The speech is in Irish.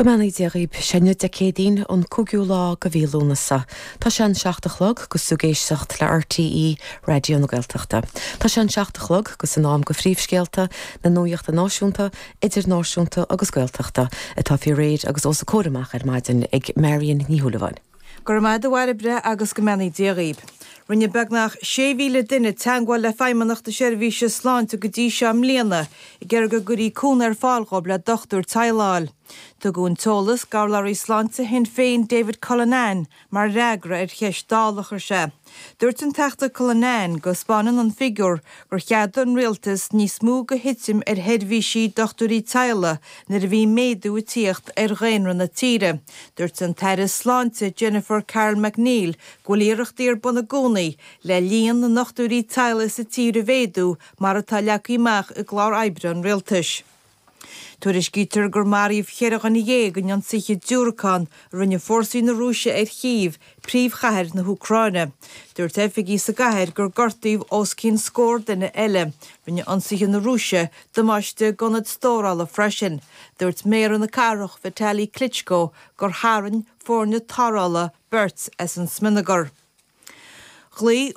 Go mbeannaí Dia dhaoib. Sé inniu Dé Céadaoin, an 5ú lá de mhí Lúnasa. Tá sé an 7 a chlog 'gus tú ag éisteacht le RTÉ Raidió na Gaeltachta. Tá sé an 7 a chlog 'gus in am go phríomhscéalta na nuachta náisiúnta, idirnáisiúnta agus Gaeltachta atá faoi réir agus os a comhair amach ar maidin ag Marion Ní Shúilleabháin. Go raibh maith agat a Bhairbre agus go mbeannaí Dia dhaoib. Rinne beagnach 6,000 duine teagmháil le Feidhmeannacht na Seirbhíse Sláinte go dtí seo i mbliana ag iarraidh go gcuirí cúnamh ar fáil dhóibh le dochtúir teaghlaigh a fháil. Tugadh an t-eolas d'urlabhraí sláinte Shinn Féin David Cullinane mar fhreagra ar cheist Dála a chuir sé. Dúirt an Teachta Cullinane go 'spáineann an figiúr gur cheadaigh an rialtas níos mó de thitim ar sheirbhísí dochtúirí teaghlaigh nuair a bhí méadú ag tíocht ar dhaonra na tíre. Dúirt an tAire Sláinte Jennifer Carroll MacNeill go bhfuil iarrachtaí ar bun i gcónaí le líon na ndochtúirí teaghlaigh sa tír a mhéadú mar atá leagtha amach i gclár oibre an rialtais. Tuairiscítear gur maraíodh cheithre dhuine dhéag in ionsaithe diúracán a rinne fórsaí na Rúise ar Chív, príomhchathair na hÚcráine. Dúirt oifigigh sa gcathair gur gortaíodh os cionn scór duine eile. Rinne ionsaithe na Rúise damáiste d'ionad stórála freisin. Dúirt méara na cathrach, Vitali Klitschko, gur tharraing foirne tarrthála beirt as an smionagar. Ghlaoigh.